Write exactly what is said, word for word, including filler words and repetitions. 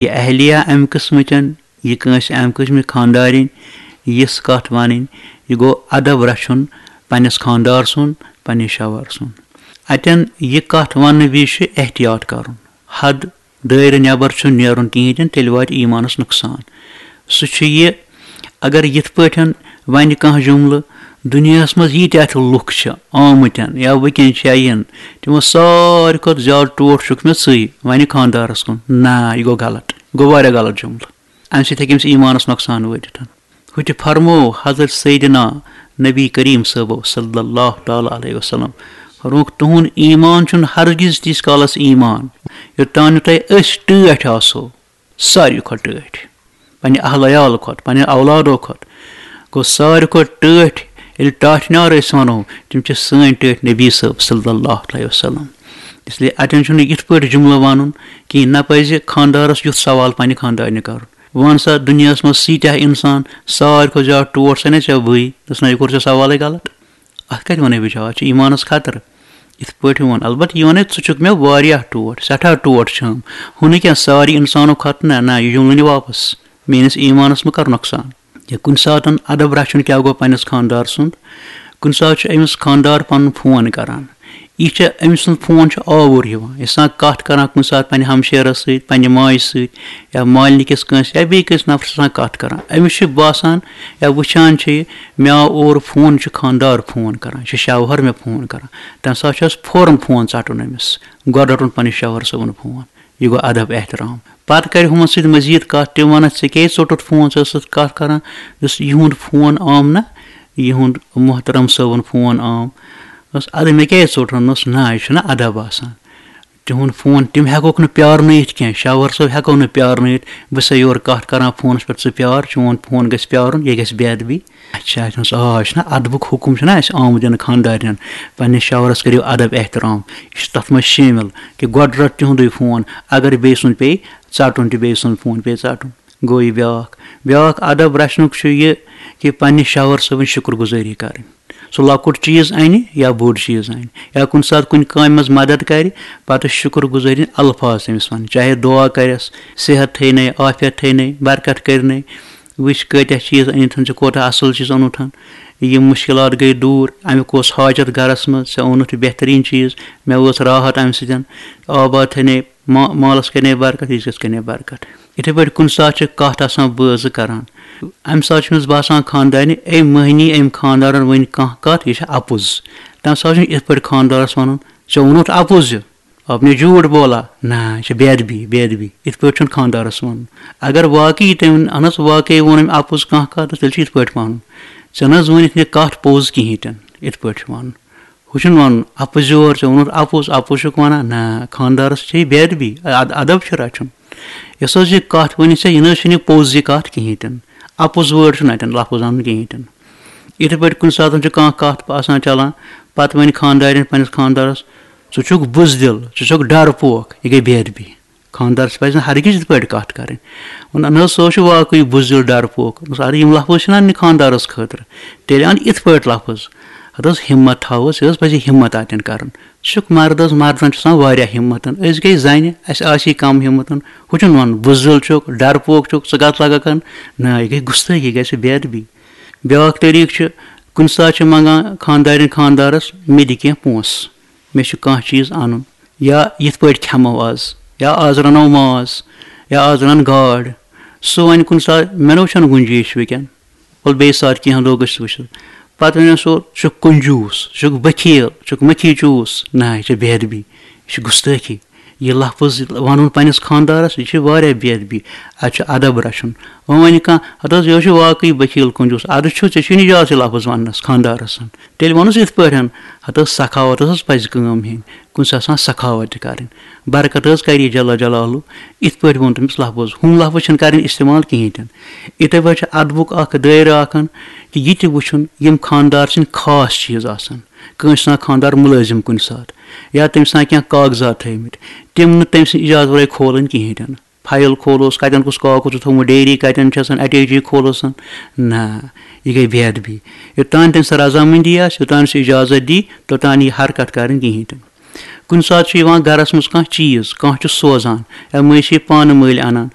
یہِ اہلیہ امہِ قٕسمٕچن، یہِ کٲنٛسہِ امہِ قٕسمٕچ خانٛدارِنۍ، یِژھ کتھ ونٕنۍ، یہِ گوٚو ادب رچھُن پننِس خانٛدار سُنٛد، پننہِ شوہر سُنٛد۔ اتٮ۪ن یہِ کتھ وننہٕ وِزِ چھُ احتیاط کرُن، حد دٲیرٕ نٮ۪بر چھُنہٕ نیرُن کِہیٖنۍ تہِ نہٕ، تیٚلہِ واتہِ ایٖمانس نۄقصان۔ سُہ چھُ یہِ، اگر یِتھ پٲٹھۍ ونہِ کانٛہہ جملہٕ، دُنیاہس منٛز ییٖتیٛاہ تہِ لُکھ چھِ آمٕتۍ یا وٕنکیٚن چھِ یا یِن، تِمو ساروی کھۄتہٕ زیادٕ ٹوٹھ چھُکھ مےٚ ژٕے، ونہِ خانٛدارس کُن۔ نہ، یہِ گوٚو غلط، گوٚو واریاہ غلط جملہٕ۔ امہِ سۭتۍ ہیٚکہِ أمِس ایٖمانس نۄقصان وٲتِتھ۔ ہُتہِ فرموو حضرت سیدنا نبی کریم صٲبو صلی اللہ تعالیٰ علیہ وسلم، فرمووُکھ، تُہُنٛد ایٖمان چھُنہٕ ہرگز تیٖتِس کالس ایٖمان، یوٚتام نہٕ تۄہہِ أسۍ ٹٲٹھۍ آسو، ساروی کھۄتہٕ ٹٲٹھۍ، پننہِ اہل عیال کھۄتہٕ، پننہِ اولادو کھۄتہٕ۔ گوٚو، ساروی کھۄتہٕ ٹٲٹھۍ ییٚلہِ ٹاٹھۍ نار أسۍ ونو، تِم چھِ سٲنۍ ٹٲٹھۍ نبی صٲب صلی اللہ علیہ وسلم۔ اس لیے اتٮ۪ن چھُنہٕ یِتھ پٲٹھۍ جملہٕ ونُن کِہیٖنۍ، نہ پزِ خانٛدارس یُتھ سوال پننہِ خانٛدارنہِ کرُن۔ وَن سا، دُنیاہَس منٛز سیٖتیٛاہ اِنسان، ساروی کھۄتہٕ زیادٕ ٹوٹھ چھَنہ ژےٚ بٕے؟ دوٚپُس، نہ، یہِ کوٚر ژےٚ سوالٕے غلط۔ اَتھ کَتہِ وَنَے بہٕ جواب؟ اَتھ چھُ ایٖمانَس خطرٕ۔ یِتھ پٲٹھۍ ووٚن، البتہ یہِ وَنَے، ژٕ چھُکھ مےٚ واریاہ ٹوٹھ، سٮ۪ٹھاہ ٹوٹھ چھَم۔ ہُہ نہٕ کینٛہہ، سارے اِنسانو کھۄتہٕ نہ، نہ، یہِ جُملہٕ نہِ واپَس۔ میٛٲنِس ایٖمانَس مہٕ کَر نۄقصان۔ یا کُنہِ ساتَن اَدَب رَچھُن کیٛاہ گوٚو پنٛنِس خانٛدار سُنٛد؟ کُنہِ ساتہٕ چھُ أمِس خانٛدار پَنُن فون کَران۔ یہِ چھِ، أمۍ سُنٛد فون چھُ آوُر یِوان۔ یہِ چھِ آسان کَتھ کَران کُنہِ ساتہٕ پنٛنہِ ہمشیرَس سۭتۍ، پنٛنہِ ماجہِ سۭتۍ، یا مالنہِ کِس کٲنٛسہِ، یا بیٚیہِ کٲنٛسہِ نفرَس آسان کَتھ کَران۔ أمِس چھُ باسان یا وٕچھان چھُ یہِ، مےٚ آو اورٕ فون، یہِ چھُ خانٛدار فون کَران، یہِ چھُ شوہر مےٚ فون کَران۔ تَمہِ ساتہٕ چھُ اَسہِ فوراً فون ژَٹُن أمِس، گۄڈٕ رَٹُن پنٛنِس شوہر صٲبُن فون۔ یہِ گوٚو ادب احترام۔ پتہٕ کرِ ہُمن سۭتۍ مزید کتھ، تِم ونکھ، ژےٚ کیازِ ژوٚٹُتھ فون، ژٕ ٲسٕکھ کتھ کران، یُس یِہُنٛد فون آم نہ، یِہُنٛد محترم صٲبُن فون آم۔ دوٚپُس، ادٕ مےٚ کیازِ ژوٚٹُن؟ دوٚپُس، نہ، یہِ چھُنہ ادب آسان۔ تِہُنٛد فون، تِم ہٮ۪کوکھ نہٕ پیارنٲیِتھ کینٛہہ، شاور صٲب ہٮ۪کو نہٕ پیارنٲیِتھ۔ بہٕ چھُسے یورٕ کتھ کران فونس پٮ۪ٹھ، ژٕ پیار، چون فون گژھِ پیارُن، یہِ گژھِ بے ادبی۔ اچھا، اَتھ منٛز، آ، یہِ چھُنہ ادبُک حُکم چھُنہ اَسہِ آمُت دِنہٕ خانٛدارنٮ۪ن، پننِس شوہرس کٔرِو ادب احترام، یہِ چھُ تتھ منٛز شٲمِل کہِ گۄڈٕ رٹ تِہُنٛدُے فون، اگر بیٚیہِ سُنٛد پیٚیہِ ژٹُن تہِ، بیٚیہِ سُنٛد فون پیٚیہِ ژٹُن۔ گوٚو یہِ بیٛاکھ، بیٛاکھ ادب رچھنُک چھُ یہِ کہِ پننِس شوہر صٲبٕنۍ شُکر گُزٲری کرٕنۍ۔ سُہ لۄکُٹ چیٖز انہِ یا بوٚڑ چیٖز انہِ، یا کُنہِ ساتہٕ کُنہِ کامہِ منٛز مدد کرِ، پتہٕ شُکر گُزٲری الفاظ تٔمِس ونٕنۍ، چاہے دُعا کرٮ۪س، صحت تھٲینَے، عافیت تھٲینَے، برکت کٔرنَے۔ وٕچھ کۭتیٛاہ چیٖز أنِتھ، ژےٚ کوٗتاہ اَصٕل چیٖز اوٚنُتھ۔ یِم مُشکِلات گٔے دوٗر، اَمیُک اوس حاجت گَرَس منٛز، ژےٚ اوٚنُتھ یہِ بہتریٖن چیٖز، مےٚ وٲژ راحت اَمہِ سۭتۍ۔ آباد تھٲینَے، ما-، مالَس کَرنَے برکت، عزتَس کَرنَے برکت۔ یِتھَے پٲٹھۍ کُنہِ ساتہٕ چھِ کَتھ آسان بٲژ زٕ کَران، اَمہِ ساتہٕ چھِ أمِس باسان خانٛدارنہِ، أمۍ مٔہنی، أمۍ خانٛدارَن ؤنۍ کانٛہہ کَتھ، یہِ چھِ اَپُز۔ تَمہِ ساتہٕ چھُنہٕ یِتھ پٲٹھۍ خانٛدارَس وَنُن، ژےٚ اوٚنُتھ اَپُز یہِ؟ آپ نے جھوٹ بولا۔ نہ، یہِ چھِ بے ادبی، بے ادبی۔ یِتھ پٲٹھۍ چھُنہٕ خانٛدارَس وَنُن۔ اگر واقعی تٔمۍ، اہن حظ، واقعی ووٚن أمۍ اَپُز کانٛہہ کَتھ، تیٚلہِ چھُ یِتھ پٲٹھۍ وَنُن، ژےٚ نہ حظ ؤنِتھ مےٚ کَتھ پوٚز کِہیٖنۍ تہِ نہٕ، یِتھ پٲٹھۍ چھُ وَنُن۔ ہُہ چھُنہٕ وَنُن، اَپُز یور، ژےٚ ووٚنُتھ اَپُز، اَپُز چھُکھ وَنان۔ نہ، خانٛدارَس چھِ یہِ بے ادبی، اَد-، ادب چھُ رَچھُن۔ یۄس حظ یہِ کَتھ ؤنِتھ ژےٚ، یہِ نہ حظ چھُنہٕ یہِ پوٚز یہِ کَتھ کِہیٖنۍ تہِ نہٕ۔ اَپُز وٲڈ چھُنہٕ اَتٮ۪ن لفظ اَنُن کِہیٖنۍ تہِ نہٕ۔ یِتھَے پٲٹھۍ کُنہِ ساتہٕ چھُ کانٛہہ کَتھ آسان چَلان، پَتہٕ وَنہِ خانٛدارٮ۪ن پنٛنِس خانٛدارَس، ژٕ چھُکھ بُزدِل، ژٕ چھُکھ ڈَرپوک، یہِ گٔے بے ادبی۔ خانٛدارَس پَزِ نہٕ ہرگِز یِتھ پٲٹھۍ کَتھ کَرٕنۍ۔ وَنان، نہ حظ، سُہ حظ چھُ واقعٕے بُزدِل ڈَرپوک۔ دوٚپمَس، اَدٕ یِم لفظ چھِنہ اَنٕنہِ خانٛدارَس خٲطرٕ، تیٚلہِ اَن یِتھ پٲٹھۍ لفظ۔ اَدٕ حظ، ہِمت تھاوَس، یہِ حظ پَزِ ہِمت اَتٮ۪ن کَرُن۔ ژٕ چھُکھ مرد حظ، مردَن چھُ آسان واریاہ ہِمت۔ أسۍ گٔے زَنہِ، اَسہِ آسہِ کَم ہِمت۔ ہُہ چھُنہٕ وَنُن، بُزدِل چھُکھ، ڈَرپوک چھُکھ، ژٕ کَتھ لَگَکھ اَن۔ نہ، یہِ گٔے گُستٲخی، یہِ گژھِ بے ادبی۔ بیٛاکھ طریٖقہٕ چھُ، کُنہِ ساتہٕ چھِ منٛگان خانٛدارِنۍ خانٛدارَس، مےٚ دِ کینٛہہ پونٛسہٕ، مےٚ چھُ کانٛہہ چیٖز اَنُن، یا یِتھ پٲٹھۍ کھٮ۪مو آز، یا آز رَنو ماز، یا آز رَن گاڈ۔ سُہ وَنہِ کُنہِ ساتہٕ، مےٚ نہ حظ چھَنہٕ گُنجٲیِش وٕنکٮ۪ن، وَلہٕ بیٚیہِ ساتہٕ کینٛہہ دۄہ گٔژھِتھ وٕچھو۔ پَتہٕ وَنہِ سُہ، ژٕ چھُکھ کنجوٗس، ژٕ چھُکھ بخیل، ژٕ چھُکھ مٔکھی چوٗس۔ نہ، یہِ چھِ بے ادبی، یہِ چھِ گُستٲخی۔ یہِ لفظ وَنُن پنٛنِس خانٛدارَس، یہِ چھِ واریاہ بے ادبی۔ اَتہِ چھُ ادب رَچھُن۔ وۄنۍ وَنہِ کانٛہہ، ہَتہٕ حظ، یہِ حظ چھُ واقعٕے بخیل کنجوٗس، اَدٕ چھُ، ژےٚ چھُے نہٕ اِجازت یہِ لفظ وَننَس خانٛدارَس۔ تیٚلہِ وَنُس یِتھ پٲٹھۍ، ہَتہٕ حظ، سخاوت حظ پَزِ کٲم ہیٚنۍ، کُنہِ ساتہٕ آسان سخاوت تہِ کَرٕنۍ۔ برکت حظ کَرِ یہِ جل جلالہ، یِتھ پٲٹھۍ ووٚن تٔمِس لفظ۔ ہُم لفظ چھِنہٕ کَرٕنۍ استعمال کِہیٖنۍ تہِ نہٕ۔ یِتھَے پٲٹھۍ چھِ ادبُک اَکھ دٲیرٕ اَکھ، کہِ یہِ تہِ وٕچھُن، یِم خانٛدار سٕنٛدۍ خاص چیٖز آسان۔ کٲنٛسہِ چھُ آسان خانٛدار مُلٲزِم کُنہِ ساتہٕ، یا تٔمِس چھِ آسان کینٛہہ کاغذات تھٲومٕتۍ، تِم نہٕ تٔمۍ سٕنٛدِ اِجازت ورٲے کھولٕنۍ کِہیٖنۍ تہِ نہٕ۔ فایِل کھولوس، کَتٮ۪ن کُس کاکُد چھُ تھوٚومُت، ڈیری کَتٮ۪ن چھِ آسان، اَٹیچی کھولوس۔ نہ، یہِ گٔے بے ادبی۔ یوٚتام تٔمۍ سٕنٛز رضامٔندی آسہِ، یوٚتام سُہ اِجازت دی، توٚتام یہِ حرکت کَرٕنۍ کِہیٖنۍ تہِ نہٕ۔ کُنہِ ساتہٕ چھُ یِوان گَرَس منٛز کانٛہہ چیٖز، کانٛہہ چھُ سوزان، یا مٔنٛزۍ چھِ یہِ پانہٕ مٔلۍ اَنان،